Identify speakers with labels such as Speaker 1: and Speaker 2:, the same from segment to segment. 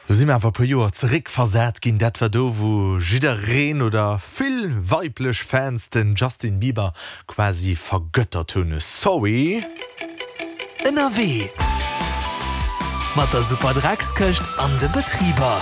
Speaker 1: Do si mer awer e puer Joer zeréckversat ginn. Dat war do, wou jiddereen oder vill weiblech Fans den Justin Bieber quasi vergëttert hunn. Sorry.
Speaker 2: Ënnerwee mat der Superdreckskëscht an de Betriber.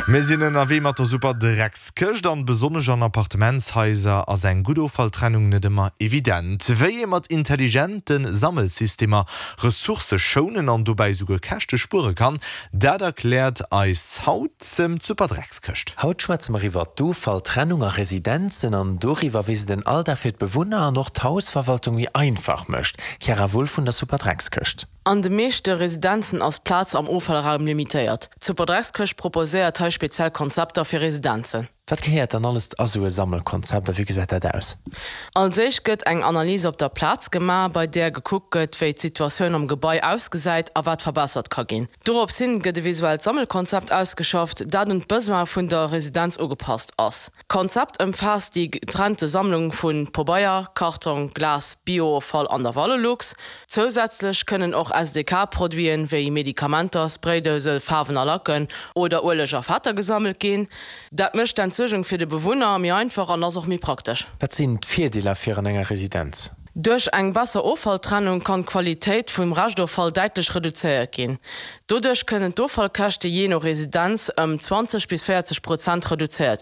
Speaker 1: Mir sinn ënnerwee mat der Superdreckskëscht an besonnesch an Appartementshaiser ass eng gutt Offalltrennung net ëmmer evident. Wéi ee mat intelligente Sammelsystemer Ressourcë schounen an dobäi souguer Käschte spuere kann, dat erkläert eis haut d'Superdreckskëscht.
Speaker 3: Haut schwätze mer iwwer d'Offalltrennung a Residenzen an doriwwer, wéi se den Alldag fir d'Bewunner an och d'Hausverwaltung méi einfach mécht. Chiara Wulff vun der Superdreckskëscht.
Speaker 4: An de meeschte Residenzen ass d'Plaz am Offallraum limitéiert. D'Superdreckskëscht proposéiert hei speziell Konzepter fir Residenzen.
Speaker 3: Wat gehéiert dann alles a sou e Sammelkonzept a wéi gesäit dat aus?
Speaker 4: Als éischt gëtt eng Analys op der Plaz gemaach, bei där gekuckt gëtt, wéi d'Situatioun am Gebai ausgesäit a wat verbessert ka ginn. Dorops hin gëtt e visuellt Sammelkonzept ausgeschafft, dat un d'Besoine vun der Residenz ugepasst ass. D'Konzept ëmfaasst déi getrennte Sammlung vu Pobeier, Kartong, Glas, Biooffall an der Valorlux. Zousätzlech kënnen och SDK-Produiten, wéi Medikamenter, Spraydouse, Faarwen a Lacken oder Ueleg a Fetter gesammelt ginn. Dat mécht d'Entsuergung fir de Bewunner méi einfach an ass och méi praktesch.
Speaker 3: Wat sinn d'Virdeeler fir an enger Residenz?
Speaker 4: Duerch eng besser Offalltrennung kann d'Qualitéit vum Reschtoffall däitlech reduzéiert ginn. Doduerch kënnen d'Offallkäschte jee no Residenz ëm 20 bis 40 Prozent reduzéiert.